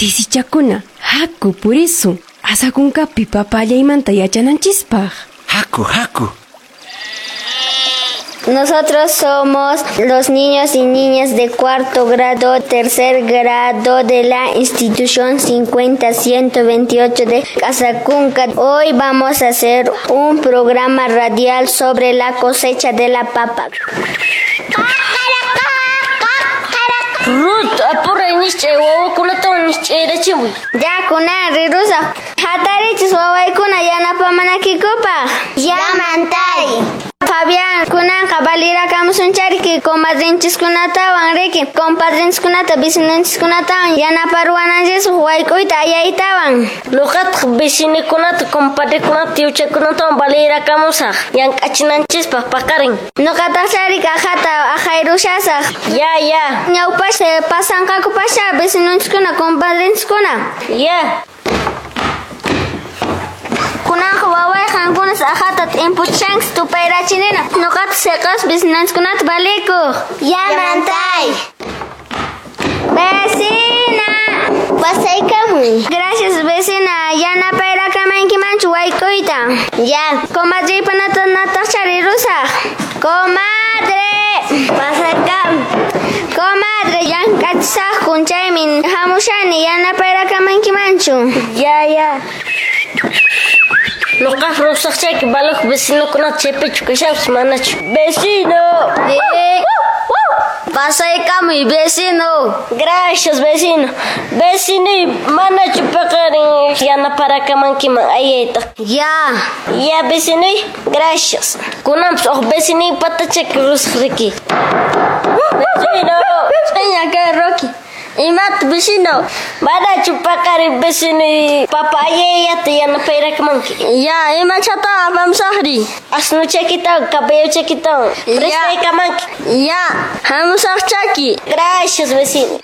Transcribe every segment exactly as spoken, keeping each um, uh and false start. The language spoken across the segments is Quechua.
Sisichakuna, haku purisun. Asakunkapi papallaymanta yachananchispaq. Haku, haku. Nosotros somos los niños y niñas de cuarto grado, tercer grado de la institución cincuenta ciento veintiocho de Casacunca. Hoy vamos a hacer un programa radial sobre la cosecha de la papa. Ruth, apuray nischay wawakunatawan nischayrachimuy. Ya, kunan rirusaq. Hatarichis wawaykuna yanapamanakikupaq. Ya, mantay. Fabián, kunanqa valirakamusunchariki comadrinchiskunatawan riki. Compadrinchiskunata, vecinonchiskunatawan yanaparuwananchisaq wayk'uyta ayaytawan. Nuqataq vecinokunata, compadrekunata, tiyuchakunatawan valirakamusaq. Llank'achinanchispaq paqarin. Nuqataq chariki aqhata aqhayrushasaq. Ya, ya. Ñawpasha pasanqakupasha vecinonchiskuna, compadrinchiskuna. Ya. Kunanqa waway qankunas aqhata t'impuchanki tupayrachinina. Nuqata siqas vecinanchikkunata valikuq. Ya, mantay. Vecina. Pasaykamuy. Gracias, vecina. Yanapayrakamaynkimanchu wayk'uyta. Ya. Comadreypanata nataq charirusaq. Comadre. Pasaykamuy. Comadre, llank'achisaqkun chaymi hamushani yanapayrakamaynkimanchu. Ya, ya. Nuqaq rusaqchayki valoj vecinokunata chaypichu kashanpas manachu. Vecino. Pasaykamuy, vecino. Gracias, vecino. Vecino, manachu paqarin yanaparakamankiman ayayta. Ya. Ya, vecino, gracias. Kunanpas uq vecino patachaki rusaq riki. Vecino. Seña kay Rocky. Imat vecino. Manachu paqarin vecino papa ayayata yanapayrakmanki. Ya, imachata apamusaqri. Asnuchakitawan, caballochakitawan. Prestaykamanki. Ya, hamusaqchaki. Gracias, vecino.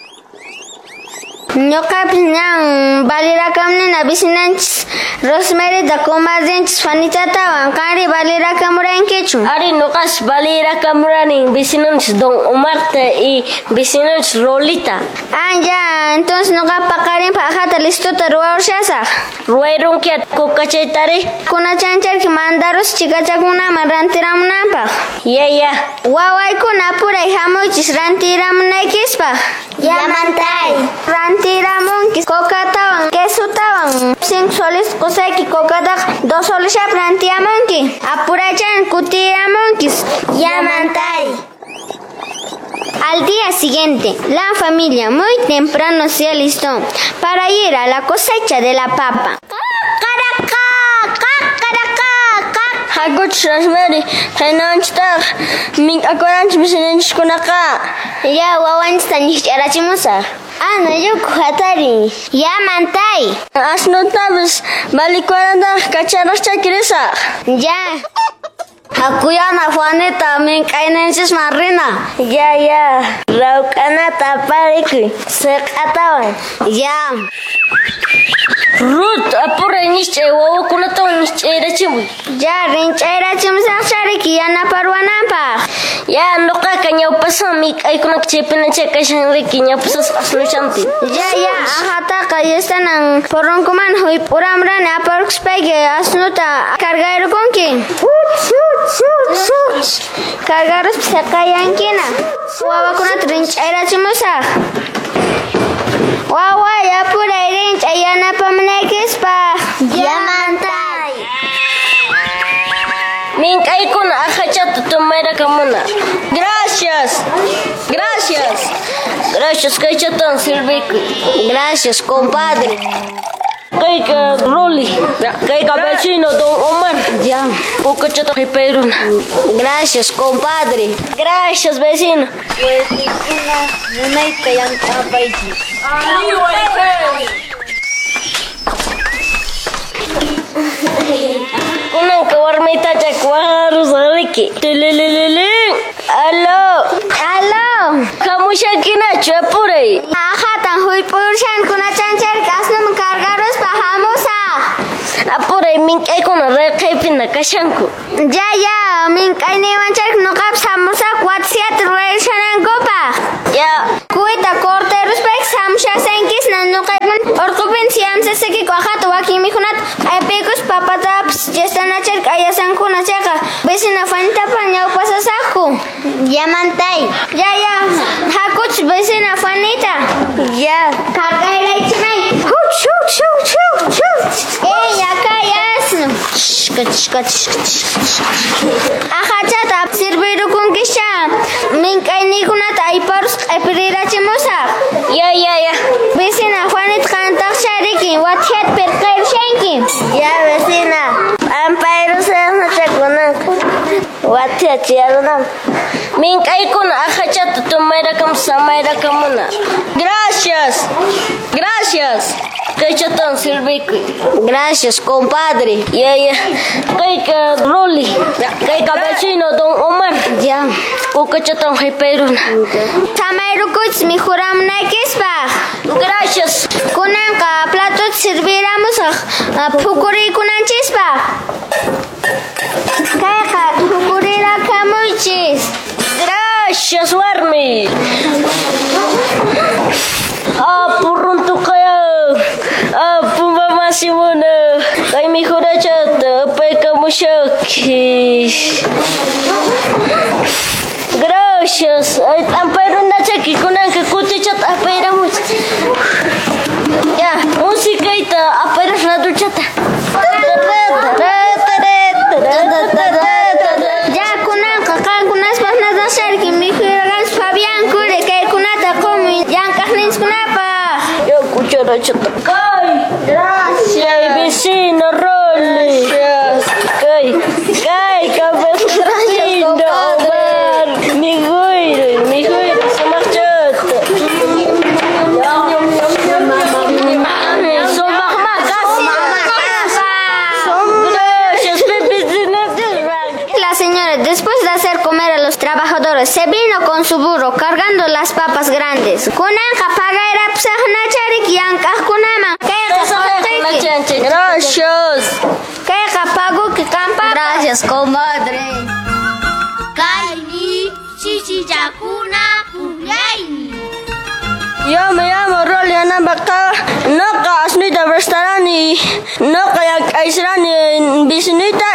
Ñuqapis ñan valirakamnina vecinanchis Rosemaryta, comadrinchis Juanitatawan. Qanri valirakamurankichu? Ari, nuqas valirakamurani vecinanchis Don Omarta y vecinanchis Rolita. Ah, ya, entonces nuqa paqarinpaq aqhata listota ruwarushasaq. Ruwayrunki kukachaytari? Kunachancharki mandarus chikachakunaman rantiramunanpaq. Ya, ya. Wawaykuna apuray hamuychis rantiramunaykispaq. Ya, mantay. Rantiramunki cocatawan, quesotawan. Cinco soles qusayki cocataqa dos soles rantiamunki. Apuraychan kutiramunkis. Ya, mantay. Al día siguiente, la familia muy temprano se alistó para ir a la cosecha de la papa. Hakuch Rosemary, haynanchitaq mink'akunanchis vecinonchiskunaqa. Ya, wawanchista nisch'arachimusaq. Ana yuku hatari. Ya, mantay. Asnutapis valikuanataq kacharaqchaki risaq. Ya. Hakuyana Juanita mink'ayninchisman rina. Ya, ya. Rawk'anata aparikuy siq'atawan. Ya. Ruth, apuray nischay wawakunatawan nischayrachimuy. Ya, rinch'ayrachimusaq chariki yanaparuwananpaq. Ya, nuqaqa ñawpasan mink'aykunaka chaypinachay kashan riki ñawpasas asnuchanpi. Ya, ya, aqhataqa yastanan porronkuman huyp'uramrani aparkuspayki asnuta cargayrukunki. Cargaruspa siqayankina. Wawakunata rinch'ayrachimusaq. Waway, apuray rinch'ay yanapamunaykispaq. Ya, mantay. Mink'aykuna aqhachata tumayrakamuna. Gracias. Gracias. Gracias, kaychatan sirvikuy. Gracias, compadre. Kayka Rolly. Kayka vecino Don Omar. Ya. Kukachata qipayruna. Gracias, compadre. Gracias, vecino. Waykuna munayta llank'apaychis. Kunanqa warmaytachak waqarusaq riki. Tililililin. Aló. Aló. Hamushakinachu apuray. Aqhatan huyp'urushan kunachancharki asnuman cargaruspa hamusaq. Apuray mink'aykuna raqaypina kashanku. Ya, ya, mink'ayniwancharki nuqapis hamusaq watsiyata ruwarushanankupaq. Ya. Kuyta cortaruspayki hamushasankisna nuqaykuna Yamantay. Ya, ya. Hakuch vecina Juanita. Ya. Cargayraychimay. Huch, huch, huch, huch, huch. Ey, acá ya. Ajachata sirvirukunkisha. Mink'aynikunata ayparus q'ipirirachimusaq. Ya, ya, ya. Vecina Juanita qantaqshariki wathiat pirqayrushanki. Ya, vecina. Ampayrusaqnachakunanku. Wathiachiyarunam. Mink'aykuna ajachata tumayrakam samayrakamuna. Gracias. Gracias. Kaychatan sirvikuy. Gracias, compadre. Ya, ya. Kayka Roli. Kayka vecino don Omar. Ya. Kukachatan haypayruna. Samayrukuchis mikhuramunaykispaq. Gracias. Kunanqa platota sirviramusaq phukuriykunanchispaq. Kayqa phukurirakamuychis. Gracias, warmi. Ah, purruntuqaya. Ah, puma masimuna. Kay mikhurachata apaykamushaki. Gracias. Ay, ampayrunachaki kunanqa kutichata apayramuch. Ya, musikaita apayras raduchata. Ya kunanqa qankunaspaq nadasharki mikhuraqanchis Fabián Cure kaykunata qumuy llank'aqninchikkunapaq. Ya cucharachata. Kay. Gracias. Vecino Rolly. Gracias. Kay. Kay, vecino Omar. Mi güiro, mi güiro sumaqchata. Gracias, vecino. La señora, después de hacer comer a los trabajadores, se vino con su burro cargando las papas grandes. Kunanqa pagayrapusaqnacharik llank'aqkunaman. Kayqa qullqiyki. Gracias. Kayqa paguki qanpaq. Gracias, comadre. Kaymi sisichakuna pukllaymi. Yo me llamo Rolly Anambaka. Noqa asnuyta prestarani. Noqa llank'aysirani vecinuyta.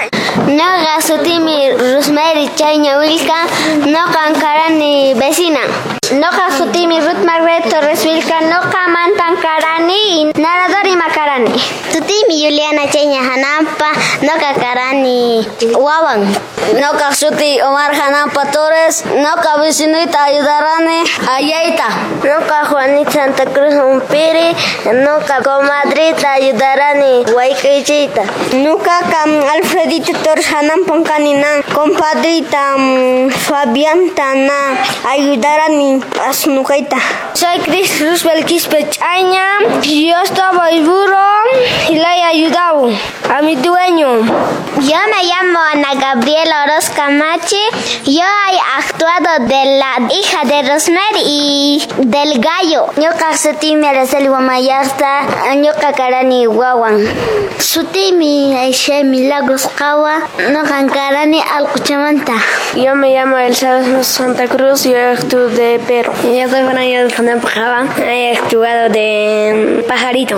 Noqa sutimi Rosemary Chayña Wilka. Noqa karani vecina. Noqa sutimi Ruth Margaret Torres Wilka. Noqa mantan karani narrador ima karani. Sutimi Juliana Chayña Hanampa. Noqa karani wawan. Noqa suti Omar Hanampa Torres. Noqa vecinuyta ayudarani ayayta. Noqa Juanita Santa Cruz Umpiri. Noqa comadrita ayudarani wayk'uychiyta. Nuqa kam Alfredito Torres Hanampa kanina. Compadrita um, Fabianta na ayudarani asnukayta. Soy Chris Roosevelt Quispe Chaña. Yo estaba el burro y le he ayudado a mi dueño. Yo me llamo Ana Gabriela Orozco Camachi. Yo he actuado de la hija de Rosemary y del gallo. Ñuqa sutimi Araceli Guamayasta, ñuqa karani wawan. Sutimi Aisha Milagros Qawa, ñuqa karani Alquchamanta. Yo me llamo Elsa Santa Cruz, yo actúo de perro. Yo soy Fernando Fernando Java, he actuado de pajarito.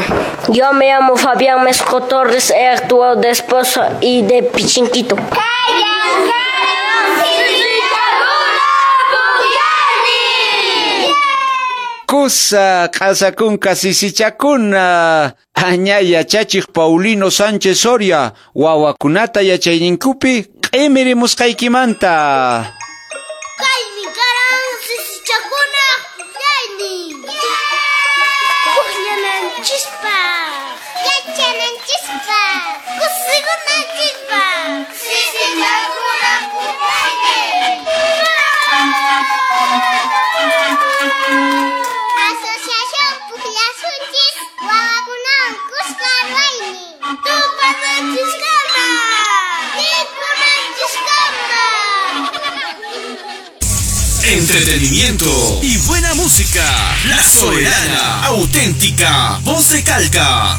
Yo me llamo Fabián Mesco Torres, he actuado de esposo y de pichinquito. Kusa q'asakunka sisichakuna. Aña yachachiq Paulino Sánchez Soria wawakunata yachayninkupi q'imirimusqaykimanta. Kaymi karan sisichakuna pukllaynin. Pukllananchispaq, yachananchispaq, kusikunanchispaq. Sisichakuna pukllaynin. Asociación Pukllasunchis wawakunawan kuska ruwaynin. Tupananchiskama, mikhunanchiskama. Entretenimiento y buena música. La Soberana, auténtica, voz de Calca.